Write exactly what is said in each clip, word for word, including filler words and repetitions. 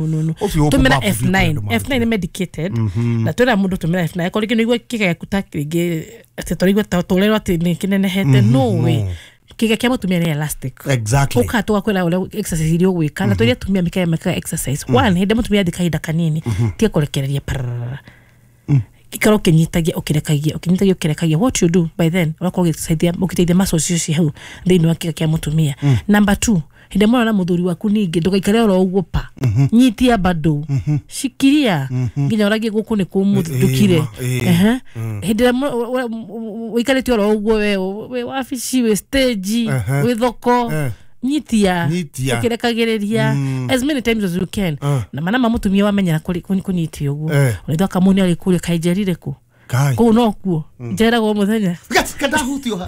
No no. Ũcio Tumira ũkũmba F nine. andũ. F nine nĩ medicated na twĩra mũndũ tũmĩra F nine akorwo rĩngĩ nĩ ũigua kĩga gĩaku ta rĩngĩ atĩ tũraigua ta tũrerwo atĩ nĩ kĩnenehete. No way, kĩga kĩa mũtumia nĩ elastic. Exactly. Ũka tũgakwĩra ũrĩa exercise iria ũgwĩka na tũrĩa atumia mekaga mekaga exercise one hĩndĩ mũtumia athiĩ kahinda kanini, tiga kũrekereria pararara, ikara ũkĩnyitagia ũkĩrekagia, ũkĩnyitagia ũkĩrekagia. What you do by then, ũrakorwo ũgĩteithia ũgĩteithia muscles icio ci hau thĩinĩ wa kĩga kĩa mũtumia. Number two, hĩndĩ ĩmwe na mũthuri waku ningĩ ndũgaikare oro ũguo pa, nyitia bado, shikiria nginya ũragie gũkũ nĩ kũmũthukire. Ĩĩ, Ehe. Hĩndĩ ĩrĩa ũikarĩte oro ũguo, we wĩ wabici, wĩ stage, Ehe. wĩ thoko, Eh. nyitia Nyitia. ũkĩrekagĩrĩria as many times as you can. Ah. Na mana ma mũtumia wamenyera kũri- kũnyi- kũnyitia ũguo, Eh. ũraithwa kamũni arĩ kũrĩa kainjerire kũ Kai. kũu nokuo njeragwo mũthenya. Kadahutio.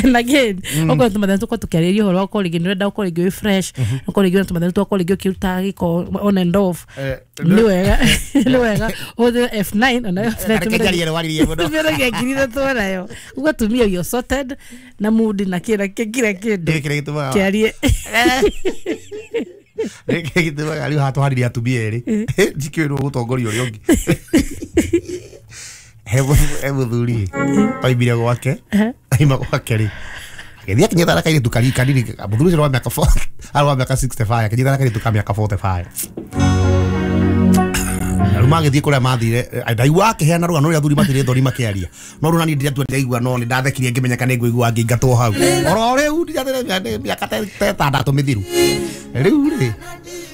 And again, okorwo tũmathĩna tũkorwo tũkĩarĩria ũhoro wa ũkorwo rĩngĩ nĩũrenda ũkorwo rĩngĩ wĩ fresh, ũkorwo rĩngĩ wĩna tũmathĩna twa ũkorwo rĩngĩ ũkĩruta gĩko on and off, Eh, nĩ wega nĩ wega ũhũthĩre F nine ona F nine. Reke njarie rwaririe mũno. Tũmĩragia ngiri ithatũ nayo ũguo atumia you're sorted na mood na kĩra kĩra kĩndũ. Ndĩrĩ kĩrĩa gĩtũmaga kĩarie. Gĩkĩ gĩtũmaga rĩu haha tũharĩrie atumia erĩ njikĩrwo gũtongoria ũrĩa ũngĩ. He mũthu- he mũthuri oimire gwake, aima gwake rĩ, agĩthiĩ akinyita na kairĩtu kari kanini. Mũthuri ũcio wa mĩaka four- arĩ wa mĩaka sixty-five, akĩnyita na kairĩtu ka mĩaka forty-five. Na rĩu magĩthiĩ kũrĩa mathire, eh, ndaigua akĩheana rũgano rũrĩa athuri matirĩ thoni makĩaria, no rĩu nani ndiratua ndiraigua, no nĩ ndathekirie ngĩmenya kana nĩngũigua ngĩingatwo hau oro rĩu ndirathire mĩaka ta ta ĩtandatũ mĩthiru. Rĩu rĩ,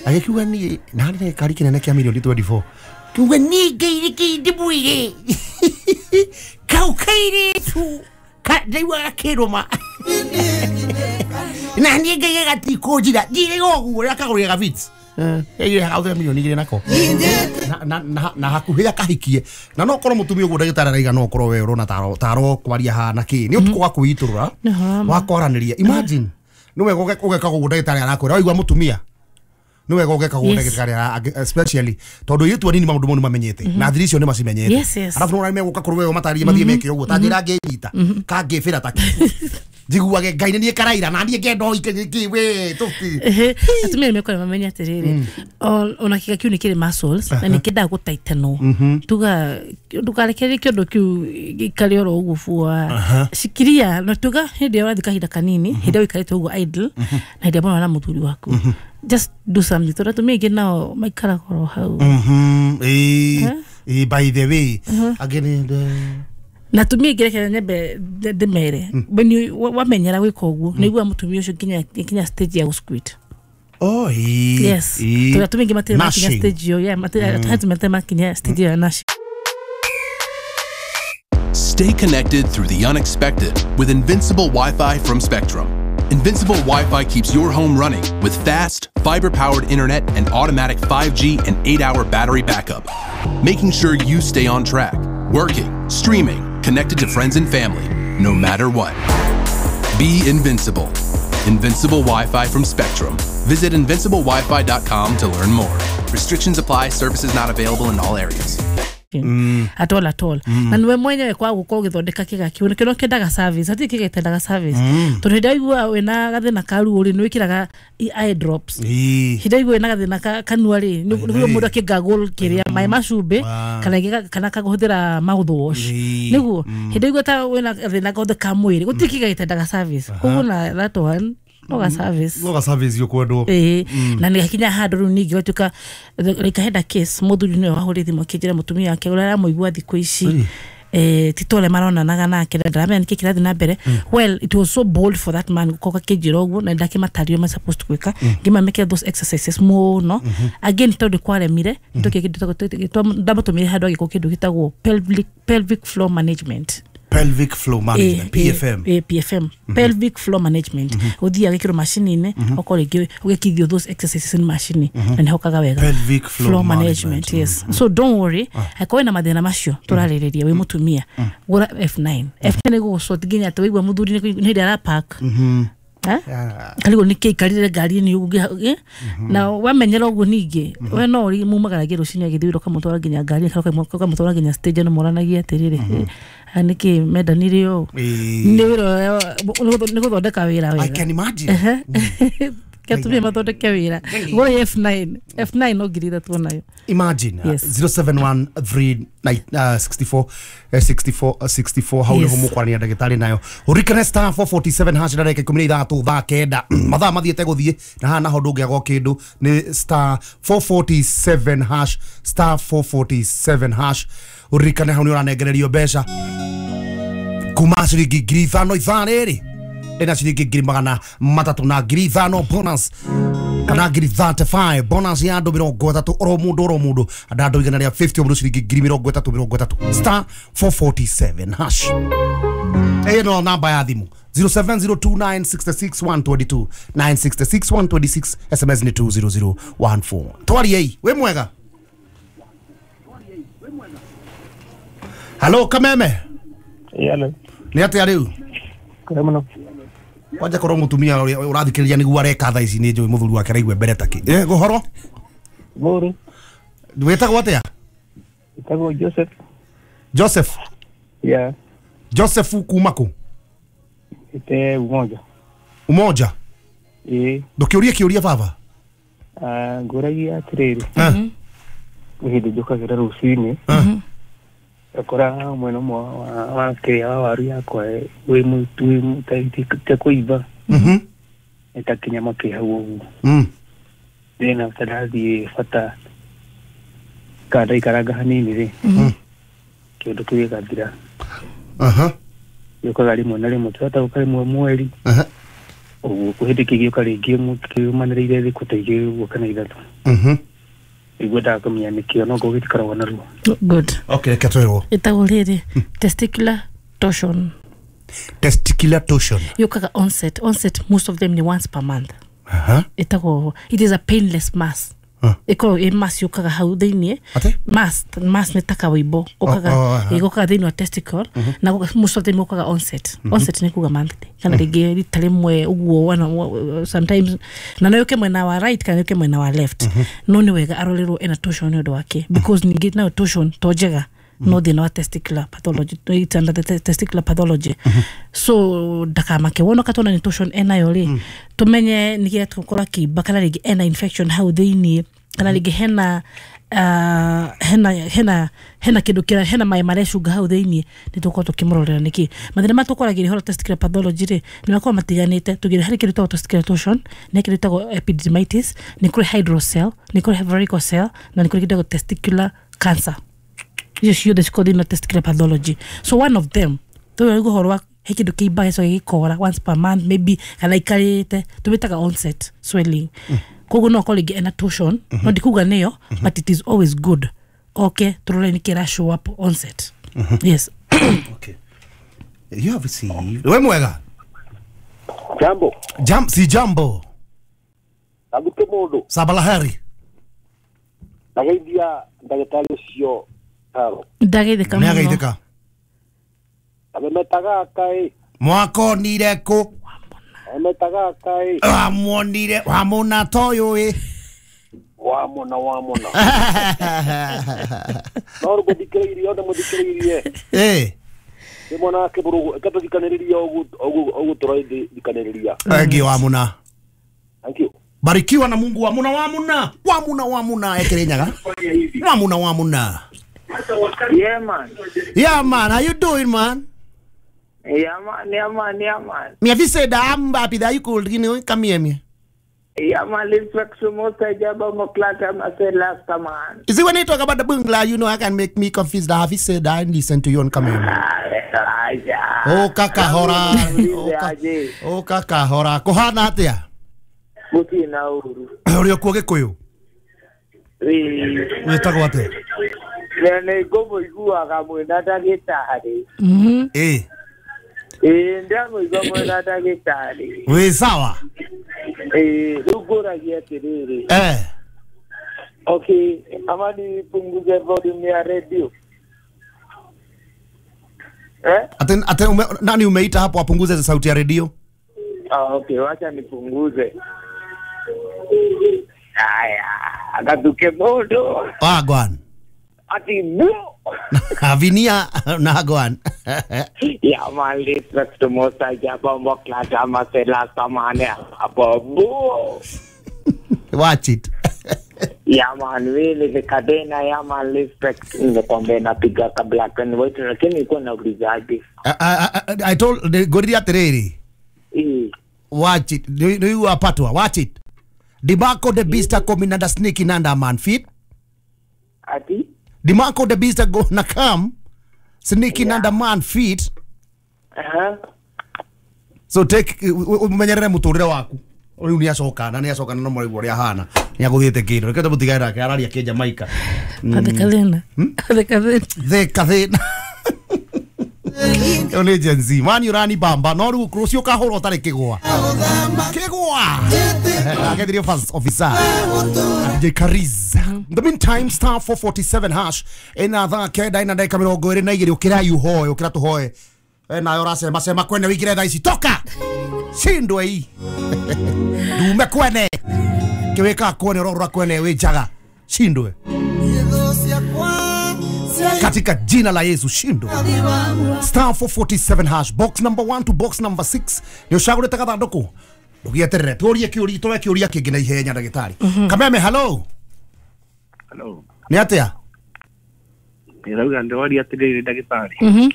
agĩkiuga niĩ na harĩ na gĩkari kĩnene kĩa mirioni twenty-four, kiuga niĩ ngeirĩkĩ ndĩmwĩre kau kairĩtu ka- ndaigua gakĩrũma na niĩ ngaiga gatikũnjira ndirĩga ũguo rĩrĩa kagũrire gabits hauthĩra mirioni igĩrĩ nako na, na, na, na hakuhĩ akahikie. Na no korwo mũtumia ũguo ndagĩtarĩ araiga, no korwo we ũrona taro taro kwaria hana kĩ nĩ ũtukũ wa kwĩitũrũra Nĩ wa kwaranĩria. Imagine nĩ wega ũge- ũgeka ũguo ndagĩtarĩ arakwĩra waigua mũtumia nĩ wega ũgeka ũguo Yes. ndagĩtarĩ ara- angĩ- especially tondũ airĩtu anini maũndũ mau nĩ mamenyete na thiri icio nĩ macimenyete. Yes, yes. Arabu nĩ megũka kũrĩ wewe matarĩrie mathiĩ meke ũguo ta njĩra ngĩnyita kangĩbĩra ta njiguage Ngai nĩ niĩ karaira na niĩ ngenda ũike kĩ we tũti. Ehe, atumia nĩ mekora mamenye atĩrĩrĩ, o- ona kĩga kĩu nĩ kĩrĩ muscles na nĩ kĩendaga gũtaitenwo. Tuga ndũkarekererie kĩondo kĩu gĩikare oro ũguo bua, shikiria na tuga hĩndĩ ĩrĩa ũrathiĩ kahinda kanini, hĩndĩ ĩrĩa ũikarĩte ũguo idle na hĩndĩ ĩrĩa mũrona na mũthuri waku, just do something, tondũ atumia aingĩ nao maikaraga oro hau. Mhm, ĩĩ ĩĩ, by the way angĩ nĩ Na atumia aingĩ, reke nyambe ndĩ- ndĩmere, when you wa- wamenyera gwĩka ũguo nĩ ũiguaga mũtumia ũcio nginya nginya stage ya gũsquit. Oh, ĩĩ. Yes. Ĩĩ. Tondũ atumia aingĩ matirĩ makinya Nashing. stage ĩyo, yeah, matirĩ atumia matirĩ makinya stage ĩyo ya nashing. Stay connected through the unexpected with Invincible Wi Fi from Spectrum. Invincible Wi Fi keeps your home running with fast, fiber powered internet and automatic five G and eight hour battery backup, making sure you stay on track, working, streaming, connected to friends and family, no matter what. Be invincible. Invincible Wi Fi from Spectrum. Visit invincible wi fi dot com to learn more. Restrictions apply, services not available in all areas. At all, at all. Na niwe mwenyewe kwa gukorwo ũgĩthondeka kĩga kĩu nĩkĩo kĩendaga service, hatirĩ kĩga gĩtendaga service, tondũ hĩndĩ ĩrĩa waigua wĩna gathĩna ka ruo rĩ, nĩ wĩkĩraga i- eye drops. Ĩĩ. Hĩndĩ ĩrĩa waigua wĩna gathĩna ka kanua rĩ, nĩ nĩguo mũndũ akĩngagũl kĩrĩa maĩ ma cumbĩ Ah. kana ĩngĩ- kana akahũthĩra mouthwash. Ĩĩ. Nĩguo hĩndĩ ĩrĩa waigua ta wĩna gathĩna gothe ka mwĩrĩ, gũtirĩ kĩga gĩtendaga service, koguo na that one no ga service. No ga service ũkwendwo. Ĩĩ, na nĩ gakinya handũ rĩu ningĩ gwatuĩka, like I had a case, mũthuri nĩwe wahũrire thimũ akĩnjĩra mũtumia wake ũrĩa aramũigua thikũ ici, eh, ti ta ũrĩa maronanaga nake na ndaramenya nĩkĩ kĩrathiĩ na mbere. Well, it was so bold for that man gũkorwo akĩnjĩra ũguo, na ndakĩmatarĩria ma supposed gwĩka, ngĩmamekĩra those exercises mũno. Again, tondũ kwaremire, ndamũtũmire handũ agĩkwo kĩndũ gĩtagwo pelvic, pelvic floor management. Pelvic floor management, P F M. Eh, eh, P F M, pelvic floor management. Ũthiaga gĩkĩrwo macini-inĩ, okorwo rĩngĩ ũgĩkithio those exercises nĩ macini na nĩ hokaga wega. Pelvic floor management. Yes. So don't worry, angĩkorwo wĩna mathĩna macio tũrarĩrĩria, wĩ mũtumia, gũra F nine. F nine ĩgũgũsort nginya atĩ waigua mũthuri nĩ nĩ hĩndĩ arapark. Eh? Yeah. Karigwo nĩkĩ aikarire ngari-inĩ ũguo eh? Na wamenyera ũguo ningĩ we no ũri mumagaragie rũcinĩ agĩthiĩ wĩra, ũkamũtwara nginya ngari, kana ũkamũtwara nginya stage, no moranagie atĩrĩrĩ, eh, aya nĩkĩ mendanire ũũ. Ĩĩ. Nĩ wĩra ũrĩa- nĩ gũthondeka wĩra I wega. can imagine. Ehe. Ketumia mathondeke wĩra. Gũrĩ F nine. F nine no ngiri ithatũ nayo. Imagine Yes. zero seven one three nine sixty-four sixty-four sixty-four hau Yes. niho mũkwarania ndagĩtarĩ nayo. Ũririkane star four forty-seven hash ndagĩka ikũmi na ithatũ thaa kenda. Mathaa mathiĩte gũthiĩ na haha naho ndũngĩaga kĩndũ nĩ star four forty-seven hash star four forty-seven hash. Ũririkane hau nĩ ũranengererio mbeca kuma ciringi ngiri ithano ithaa rĩrĩ ĩna ciringi ngiri magana matatũ na ngiri ithano bonus kana ngiri thirty-five bonus ya andũ mĩrongo ĩtatũ oro mũndũ oro mũndũ andũ andũ igana rĩa fifty o mũndũ ciringi ngiri mĩrongo ĩtatũ mĩrongo ĩtatũ star four forty-seven hash. Ĩno namba ya thimũ zero seven zero two nine six six one two two nine six six one two six S M S nĩ two zero zero one four. Twariei wĩ mwega. Halo Kameme. Yalo. Nĩ atĩa rĩu? Kũrĩ mũno. Kwanja korwo mũtumia ũrĩa ũrathikĩrĩria nĩguo areka thaa ici nĩ njũĩ mũthuri wake araigua mbere takĩ. Eh, gũhoro? Mũru. Wĩtagwo atĩa? Wĩtagwo Joseph. Joseph? Yeah. Joseph kuma kũ? Ite Umoja. Umoja? Ĩĩ. Ndũkĩũrie kĩũria baba. Ah, ngũragia atĩrĩrĩ. Eh. Hĩndĩ njũkagĩra rũcinĩ. Eh. Akora mwena ũmwe wa wa kĩrĩa wa waru yakwa wĩ mũtu ta kũimba. Mhm. Nĩ ta kĩnyama kĩ hau ũguo. Mm. Then after ndathiĩ bata kana ndaikaranga hanini rĩ. Mm. Kĩndũ kĩu gĩgathira. Aha. Gĩũkaga rĩmwe na rĩmwe tũhota gũka rĩmwe mweri. Aha. Ũguo kwĩ hĩndĩ kĩgĩũka rĩngĩ kĩumanĩrĩire thikũ ta igĩrĩ ũguo kana ithatũ. Mhm. Nĩguo kũmenya nĩkĩo no ngũgĩ gĩtikoragwo na ruo. Good. Okay, reke twĩrwo. Ĩtagwo rĩrĩ testicular torsion. Testicular torsion. Yũkaga onset. Onset most of them ni once per month. Aha. Ĩtagwo it is a painless mass. Ĩkoragwo ĩ mass yũkaga hau thĩiniĩ. Atĩ? Mass, mass nĩ ta kawĩimbo. Gũkaga gũkaga thĩiniĩ wa testicle na most of them yũkaga onset. Onset nĩ kuga monthly. Kana rĩngĩ rita rĩmwe ũguo sometimes na no yũke mwena wa right kana yũke mwena wa left. No nĩ wega arorerwo ena torsion nĩ ũndũ wake because ningĩ nayo torsion to njega no thĩna wa testicular pathology, it's under the testicular pathology. So ndakamake wona katona ni torsion enayo rĩ tumenye nĩ gĩatũkorwo kĩimba kana rĩngĩ ena infection hau thĩiniĩ kana rĩngĩ hena uh, hena hena hena kĩndũ kĩra hena maĩ marecunga hau thĩiniĩ nĩ tũkorwo tũkĩmũrorera nĩkĩ mathĩna maya tũkoragĩria ũhoro testicular pathology rĩ nĩ makoragwo matiganĩte tũgĩre harĩ kĩndũ gĩtagwo testicular torsion nĩ kĩndũ gĩtagwo epididymitis nĩ kũrĩ hydrocele nĩ kũrĩ varicocele na nĩ kũrĩ kĩndũ gĩtagwo testicular cancer. Icio ciothe cikoragwo thĩinĩ wa testicular pathology. So one of them tũrĩ ũhoro wa he kĩndũ kĩimba gĩcoke gĩkora once per month maybe kana ikarĩte tũmĩtaga onset swelling. Koguo no akorwo rĩngĩ ena torsion no ndikuga nĩyo but it is always good okay tũrore nĩkĩ ĩra show up onset. Yes. Okay. You have received. We mwega. Jambo. Jam si jambo. Aguke mũndũ. Sabalaheri. Ndageithia ndagĩtarĩ ũcio Karo. Ndageithĩka mũno. Nĩageithĩka. Amemetaga kaĩ. Mwakonire kũ? Amemetaga kaĩ. Wamuonire wamona toyũ ĩ. Wamona wamona. No rũgũthikĩrĩirie ona mũthikĩrĩirie. Ĩ. Nĩ mwana wake mũrũgũ ĩkatũthikanĩrĩria ũguo tũrathikanĩrĩria. Thank you wamona. Thank you. Barikiwa na Mungu wamuna wamuna wamuna wamuna ekerenyaga. Wamuna wamuna. Yeah man. Yeah man, how you doing man? Yeah man, yeah man, yeah man. Me have said that I'm happy that you could, you know, come here me. Yeah man, respect to most jaba moklata I last man. You see when you talk about the bungla, you know I can make me confused. I have said that and listen to you and come here. Oh kaka hora. Oh kaka hora. Kohana atia? Muti na uru. Uri kuo Gikuyu? Ii. Wĩtagwo atĩa? Nĩ ngũmũiguaga mwĩna ndagĩtarĩ. Mhm. Ĩ. Ĩ ndamũigua mwĩna ndagĩtarĩ. Wĩ sawa? Ĩ rĩu ngũragia atĩrĩrĩ. Eh. Okay, ama nipunguze volume ya radio. Eh? Ate ate ume, nani umeita hapo apunguze sauti ya radio? Ah, okay, wacha nipunguze. Aya, agatuke modo. Ah, gwan. Ati bu. Avinia Nagwan. Yeah man, respect to most I bombo clat ama say last man abo. Watch it. Yeah man, really the kadena yeah man, respect nimekwambia napiga ka black and white lakini nilikuwa nauliza aje. I I I told the gorilla tereri. Eh. Watch it. Do you are patwa. Watch it. Demarco the beast are coming under sneaking under man feet. Ati? Demarco the beast are gonna come sneaking yeah. under man feet. Uh-huh. So take umenyerere muturire waku. Riu ni acoka na ni acoka no mori uria hana. Ni aguthiete kindu. Reke tumutigane nake araria ki Jamaica. The kathina. The kathina. The kathina. Yo ni Gen Z. Man urani bamba no riu rucio kahurwo tari kigwa. Kigwa. Agethirio first officer. D J Kariz. In the meantime star four forty-seven hash ina thaa kenda ina ndagika mirongo iri na igiri ukira yuhoe ukira tuhoe. We nayo uracema cema kwene wikire thaa ici toka. Shindwe hii. Ndume kwene. Kiwika kwene rorora kwene wi njaga. Shindwe. Katika jina la Yesu shindwe. Star four forty-seven hash box number one to box number six. Ni ucagurite gathanduku. Ndugieterere tuurie kiuria tuwe kiuria kingi na ihenya ndagitari. Kameme hello. Hello. Ni atia? Ndirauga ndoria atiriri ndagitari. Mhm.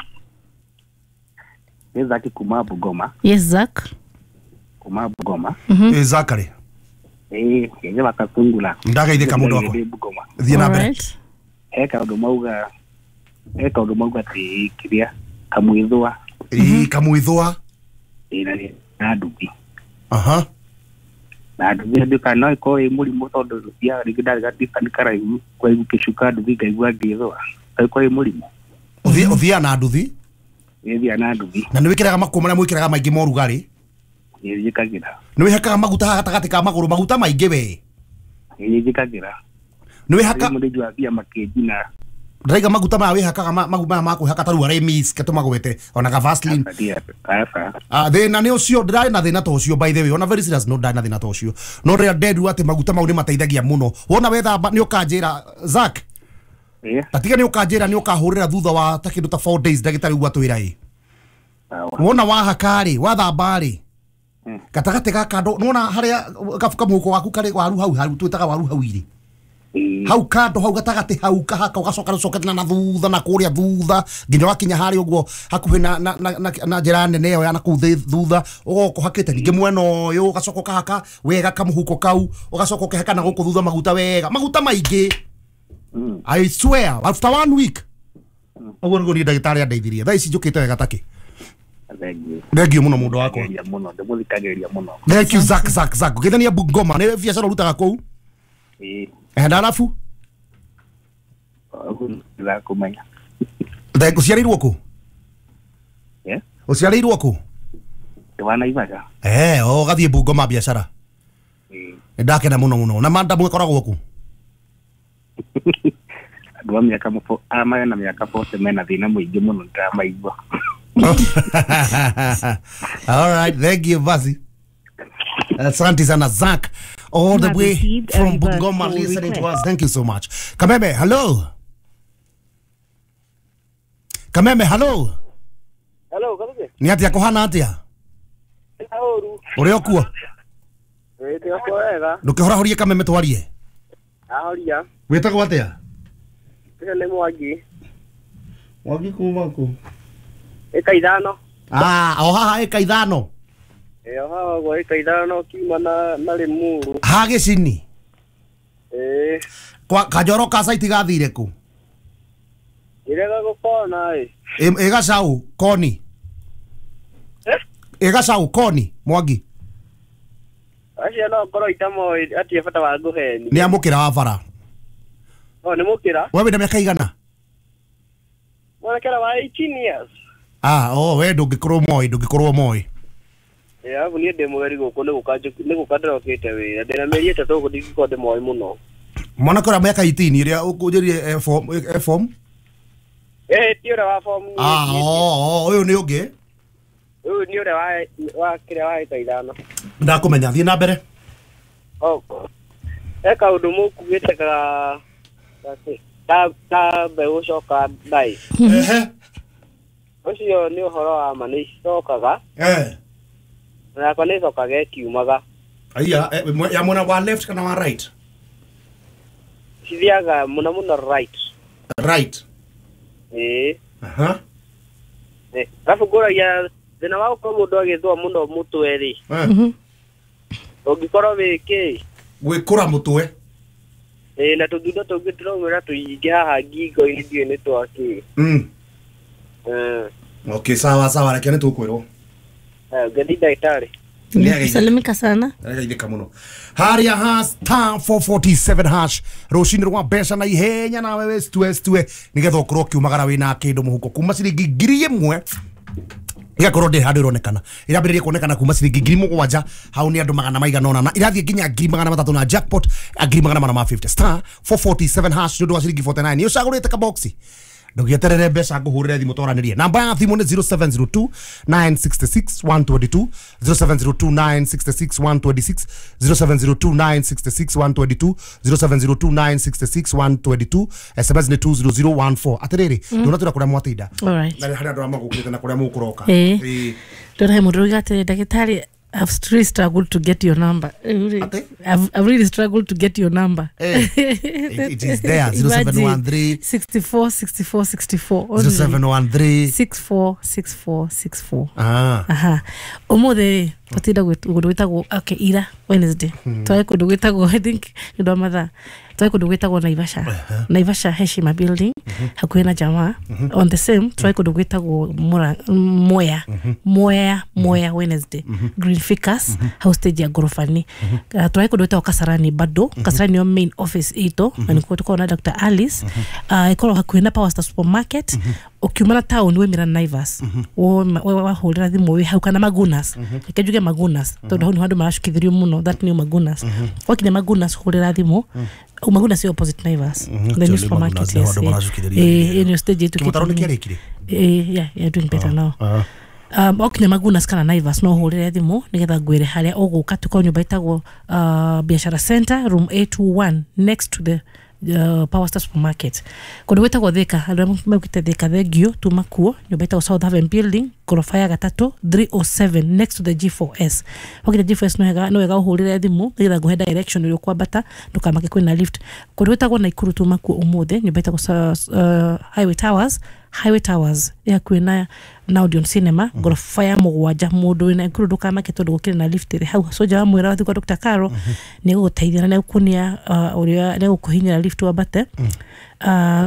Ni Zaki kuma Bungoma. Yes Zak. Kuma Bungoma. Mhm. Eh Zakari. Eh, yenye bakatungula. Ndagaithika mundu wakwa. Thie na mbere. He kaundu mauga he kaundu mauga ti kiria kamwithwa. Ii kamwithwa. Ii na na nduthi. Aha. Na nduthi nduka no iko ĩ mũrimũ tondũ ya rĩngĩ ndarĩ gatika nĩ karaihu kwa igu kĩcuka nduthi ngaigua ngĩthũa. Iko ĩ mũrimũ. Uthie uthia na nduthi. Ũthia na nduthi. Na nĩ wĩkĩraga makuo marĩa mwĩkĩraga maingĩ ma ũrugarĩ? Nĩ njĩkagĩra. Nĩ wĩhakaga maguta haha gatagatĩ ka magũrũ maguta maingĩ we? Nĩ njĩkagĩra. Nĩ wĩhaka mũrĩnju wa mbia makĩnjina. Ndĩraiga maguta maya wĩhakaga maguta maya ma kwĩhaka ta rĩu Aramis ketũmagwete ona ka Vaseline. Ah thĩna nĩ ũcio ndĩrarĩ na thĩna ta ũcio by the way ona very serious no ndarĩ na thĩna ta ũcio no rĩrĩa nderirwo atĩ maguta mau nĩ mateithagia mũno wona wethamba nĩ ũkanjĩra Zack. Tatiga nĩ ũkanjĩra nĩ ũkahũrĩra thutha wa ta kĩndũ ta four days ndagĩtarĩ ũguo atwĩra ĩ. Wona wahaka rĩ wathamba rĩ gatagatĩ ga kando nĩwona harĩa gabuka mũhuko waku karĩ waru hau hau twĩtaga waru hau irĩ hau kando hau gatagati hau kahaka ugacoka rucokete na thutha na kuria thutha nginya wakinya hari uguo hakuhi na na na na njira nene yo ya na kuu thutha ugoka hakite ningi mwena uyu ugacoka ukahaka wega kamuhuko kau ugacoka ukihaka na guku thutha maguta wega maguta maingi. I swear after one week uguo niguo ni ndagitari andeithirie thaa ici njukite wega taki. Thank you muno mundu wakwa. Muno ndimũthikagĩrĩria muno. Thank you Zack Zack Zack. Ngithania Bungoma ni biacara urutaga kuu? Ĩĩ. Eh ndarabu? Ũguo kumenya. Thank uciarĩirwo kũ? Eh? Uciarĩirwo kũ? Ndĩ wa Naivasha. Eh, o gathiĩ Bungoma biacara. Ĩĩ. Ndakena muno muno. Na manda mwekoragwo kũ? Andũ a mĩaka mũfo a mena mĩaka forty mena thĩna mũingĩ mũno ndĩramaigua. All right, thank you Basi. Asante sana Zach, all the way from Bungoma listening to us. Thank you so much. Kameme, hello. Kameme, hello. Hello, Kameme. Ni atia kuhana atia? Hello. Uri okuo? Ĩ okuo wega. Ndũkĩhorahorie Kameme twarie. Ahoria. Wĩtagwo atĩa? Nĩ Mwangi. Mwangi kuma kũ? Ĩka ithano. Ah, o haha ĩka ithano. Ĩ o haha ũguo ĩka ithano kiuma na na Limuru. Ha gĩcini? Ĩ. Kwa Kanjoro ka site gathire kũ? Ĩrega gũkona ĩ. Ĩ gacau koni. Eh? Ĩ gacau koni Mwangi. Acio no ngorwo itamoĩ atirĩ bata wa ngũheni. Nĩ amũkĩra wa bara. O nĩ mũkĩra. We wĩna mĩaka igana? Mwanakera wa eighteen years. Ah, oh, we ndũngĩkorwo moĩ, ndũngĩkorwo moĩ. Ĩ arabu niĩ ndĩ mũgeni gũkũ nĩ gũka nĩ gũka ndĩrokĩte wĩra. Ndĩna mĩeri ĩtatũ gũkũ ndingĩkorwo ndĩmoĩ mũno. Mwanake ũrĩa mĩaka eighteen ĩrĩa ũkũnjĩrire form form? Ĩ ti ũrĩa wa form. Ah, oh, oh, ũyũ nĩ ũngĩ. Ũyũ nĩ ũrĩa wa wa kĩrĩa wa ĩka ithano. Ndakũmenya, thiĩ na mbere. Oh. He kaũndũ mũkugĩte ka Ta ta mbeũ coka ndai. Ehe. Ũcio nĩ ũhoro wa ma nĩ icokaga. Eh. Na yakwa nĩ icokaga ĩkiumaga. Aya, ya mwena wa left kana wa right? Cithiaga mũno mũno right. Right. Ĩĩ. Aha. Eh, alafu ngũragia thĩna wa gũkorwo mũndũ agĩthũa mũno mũtwe rĩ. Eh. Ũngĩkorwo wĩ kĩ? Gwĩkũra mũtwe. Ĩĩ, na tũthundo tũngĩ tũraumĩra tũingĩ haha ngingo-inĩ ndiũĩ nĩ twakĩ. Mm. Eh. Okay, sawa sawa, reke nĩ tũkwĩrwo. Eh, ngĩthi ndagĩtarĩ. Salimika sana. Nĩgeithĩka mũno. Haria ha star four forty-seven hash rũcinĩ rwa mbeca na ihenya nawe wĩ stue stue nĩgetha ũkorwo ũkiumagara wĩna kĩndũ mũhuko kuma ciringi ngiri ĩmwe igakorwo ndĩ handũ ĩronekana ĩrambĩrĩria kuonekana kuma ciringi ngiri mũgwanja hau nĩ andũ magana maigana ũna na irathiĩ nginya ngiri magana matatũ na jackpot ngiri magana mana ma fifty star four forty-seven hash nĩ ũndũ wa ciringi forty-nine nĩ ũcagũrĩte kaboxi ndũgĩeterere mbeca ngũhũrĩre thimũ twaranĩrie namba ya thimũ nĩ zero seven zero two nine six six one two two zero seven zero two nine six six one two six zero seven zero two nine six six one two two zero seven zero two nine six six one two two S M S nĩ two zero zero one four atĩrĩrĩ ndũnatwĩra kũrĩa mwatinda Alright. na harĩa andũ arĩa magũkĩte na kũrĩa mũkũroka. Ĩĩ. Ndona he mũndũ ũrauga atĩrĩ ndagĩtarĩ I've really struggled to get your number. I've, I've really struggled to get your number. Hey, it, it is there. zero seven one three sixty-four sixty-four sixty-four zero seven one three six four six four six four. Ah. Aha. Ũmũthĩ twatinda kũndũ gwĩtagwo okay ira Wednesday. Twari kũndũ gwĩtagwo I think nĩ ũndũ wa mathaa. Twari kũndũ gwĩtagwo Naivasha. Naivasha Heshima building hakuhĩ na jamaa. On the same twari kũndũ gwĩtagwo Mwea. Mwea Mwea Wednesday. Green Ficus house stage ya gorofani. Twari kũndũ gwĩtagwo Kasarani bado. Kasarani nĩyo main office itũ na nĩkuo tũkoragwo na Doctor Alice. Ĩkoragwo hakuhĩ na Power Star Supermarket. Ũkiuma na town wĩmĩra Naivas. Wahũrĩra thimũ wĩ hau kana Magunas. Reke njuge Magunas tondũ hau nĩho andũ maracukithĩrio mũno that new Magunas. Wakinya Magunas hũrĩra thimũ. Magunas ĩ opposite Naivas. The new supermarket. Yes. Eh, ĩno stage ĩtũ. Kĩmũtaro nĩ kĩarĩkire? Eh, yeah, you're doing better now. Um, okinya Magunas kana Naivas no hũrĩre thimũ nĩgetha ngwĩre harĩa ũgũka. Tũkorwo nyũmba ĩtagwo uh, Biashara Center room eight two one next to the uh, Power Star Supermarket. Kũndũ gwĩtagwo Thika, andũ arĩa maukĩte Thika thengio tuma kuo nyũmba ĩtagwo South Haven Building goroba ya gatatũ three oh seven next to the G four S. Wakinya G four S no wega no wega ũhũrĩre thimũ nĩgetha ngũhe direction ũrĩa ũkwambata ndũkamake kwĩna lift. Kũndũ gwĩtagwo Naikuru tuma kuo ũmũthĩ nyũmba ĩtagwo uh, Highway Towers Highway Towers ya hakuhĩ na Odeon Cinema goroba ya mũgwanja. Mũndũ wĩna Naikuru ndũkamake tondũ gũkĩrĩ na lift ĩrĩ hau. Soja wa mwĩra wathiĩ kwa Doctor Caro nĩ egũgũteithia na nĩegũkuonia ũrĩa nĩegũkũhinyĩra lift wambate.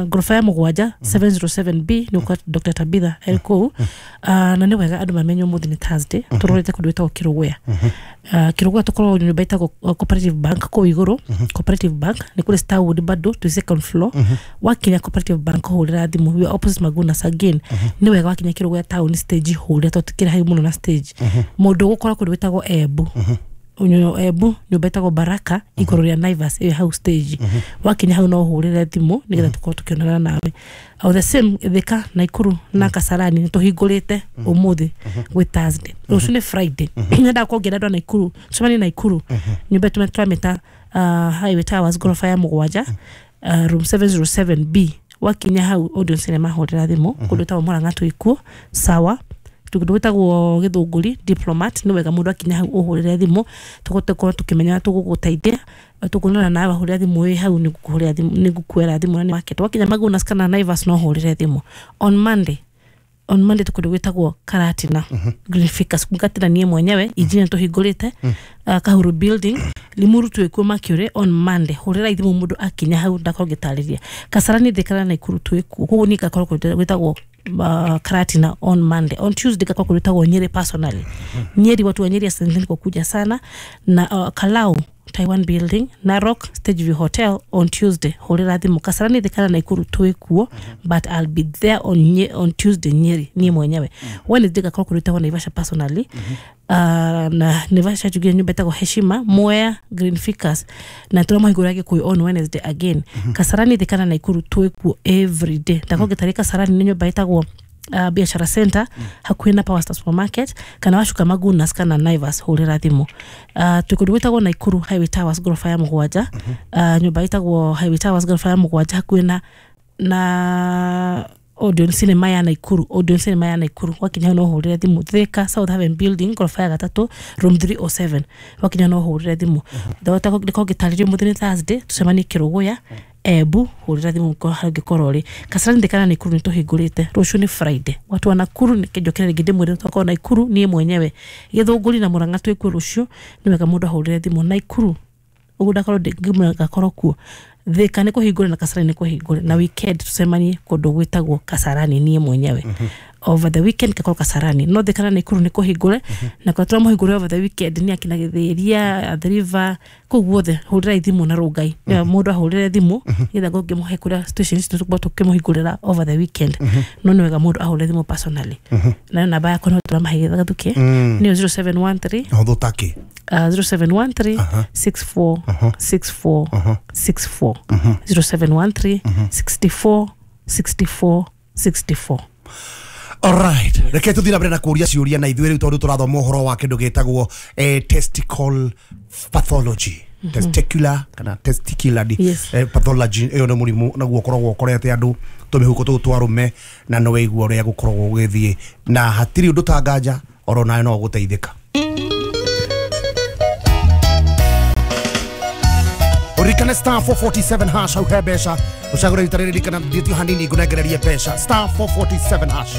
Goroba ya mũgwanja seven zero seven B nĩ kwa Doctor Tabitha eri kũu. Na nĩ wega andũ mamenye ũmũthĩ nĩ Thursday tũrorete kũndũ gwĩtagwo Kĩrũgũya. Kĩrũgũya tũkoragwo nyũmba ĩtagwo Cooperative Bank kũu igũrũ. Cooperative Bank nĩ kũrĩ Starwood bado twĩ second floor. Wakinya Cooperative Bank hũrĩra thimũ we are opposite Magunas again. Nĩ wega wakinya Kĩrũgũya town stage hũrĩra tondũ tũkĩrĩ hau mũno na stage. Mũndũ ũgũkora kũndũ gwĩtagwo Embu. Unyo Embu nyũmba ĩtagwo Baraka igũrũ rĩa Naivas ĩyo hau stage. Wakinya hau no ũhũrĩre thimũ nĩgetha tũkorwo tũkĩonana nawe. O the same Thika Naikuru na Kasarani nĩ tũhingũrĩte ũmũthĩ gwĩ Thursday. Rũciũ nĩ Friday. Nyendaga kuongerera andũ a Naikuru tũcemanie Naikuru nyũmba ĩtũ tũramĩta Highway Towers goroba ya mũgwanja room seven zero seven B. Wakinya hau Odeon Cinema hũrĩra thimũ kũndũ gwĩtagwo Murang'a twĩ kuo sawa. Kũndũ gwĩtagwo Gĩthũngũri Diplomat nĩ wega mũndũ akinya hau ũhũrĩre thimũ tũgũkorwo tũkĩmenya tũgũgũteithia tũkuonana nawe wahũrĩra thimũ wĩ hau nĩngũkũhũrĩra thimũ nĩngũkuoera thimũ na nĩ market. Wakinya Magunas kana Naivas no ũhũrĩre thimũ. On Monday on Monday tũkũndũ gwĩtagwo Karatina Green Ficus Karatina niĩ mwenyewe injinia tũhingũrĩte Kahuru building Limuru twĩkuo Mercury on Monday. Hũrĩra thimũ mũndũ akinya hau ndakorwo ngĩtarĩria. Kasarani Thika na Naikuru twĩkuo koguo niĩ ngakorwo kũndũ gwĩtagwo Uh, Karatina on Monday. On Tuesday kakwa kulitagwo Nyeri personally. Nyeri watu wa Nyeri asanteni kwa kuja sana na uh, Kalau Taiwan building Narok Stage View Hotel on Tuesday. Hũrĩra thimũ Kasarani Thika na Naikuru twĩkuo but I'll be there on nye, on Tuesday Nyeri niĩ mwenyewe. Wednesday kakwa kulitagwo Naivasha personally. Uh, na Naivasha tugia nyumba ĩtagwo Heshima Mwea Green Ficus na tũramahingũra Gĩkũyũ on Wednesday again. Kasarani Thika na Naikuru twĩkuo every day. Ndakorwo ngĩtarĩria Kasarani nĩ nyũmba ĩtagwo uh, Biashara Center hakuhĩ na Power Star Supermarket kana wacuka Magunas kana Naivas hũrĩra thimũ. Uh, twĩ kũndũ gwĩtagwo Naikuru Highway Towers goroba ya mũgwanja. Uh, nyũmba ĩtagwo Highway Towers goroba ya mũgwanja hakuhĩ na Na Odeon Cinema ya Naikuru, Odeon Cinema ya Naikuru, wakinya no hũrĩre thimũ. Thika, South Haven Building, ngoroba ya gatatũ, room three oh seven, wakinya no hũrĩre thimũ. Ndahota ndĩkorwo ngĩtarĩrio. Mũthĩ nĩ Thursday, tũcemanie Kĩrũgũya. Embu, hũrĩra thimũ harĩa ũngĩkorwo ũrĩ. Kasarani, Thika na Naikuru nĩ tũhingũrĩte. Rũciũ nĩ Friday, watu wa Nakuru nĩnjokere rĩngĩ ndĩmwĩre twakorwo Naikuru niĩ mwenyewe. Gĩthũngũri na Mũrang'a twĩkuo rũciũ. Nĩ wega mũndũ ahũrĩre thimũ. Naikuru ũguo ndakorwo ngĩmwĩra ngakorwo kuo. Thika nĩ kũhingũre na Kasarani nĩ kũhingũre, na weekend tũcemanie kũndũ gwĩtagwo Kasarani niĩ mwenyewe. Over the weekend ngakorwo Kasarani, no Thika na Naikuru nĩ kũhingũre, na kũrĩa tũramũhingũre over the weekend nĩ akina Gĩthĩria, Athi River, kũu guothe hũrĩrai thimũ. Na Rũngai nĩwe mũndũ ahũrĩre thimũ nĩgetha ngorwo ngĩmũhe kũrĩa station ici tũkorwo tũkĩmũhingũrĩra over the weekend. No nĩ wega mũndũ ahũrĩre thimũ personally, nayo namba yakwa no tũramahe gathuke nĩyo zero seven one three Hũthũ takĩ? uh, zero seven one three six four six four six four, zero seven one three sixty-four sixty-four sixty-four. Alright, reke tuthi na mbere na kũria ciũria na ithuĩ rĩu, tondũ tũrathoma ũhoro wa kĩndũ gĩtagwo eh, testicle pathology, testicular kana testicular di- Yes. eh, pathology. Ĩyo nĩ mũrimũ naguo ũkoragwo ũkorete andũ tũmĩhuko tũu twa arũme, na nĩ wĩigua ũrĩa gũkoragwo gũgĩthiĩ, na hatirĩ ũndũ ta nganja oro nawe no ũgũteithĩka. Ũririkane star four forty-seven hash, hau he mbeca. Ũcagũre rita rĩrĩ, ririkana thiĩtio hanini ngũnengererie mbeca, star four forty-seven hash.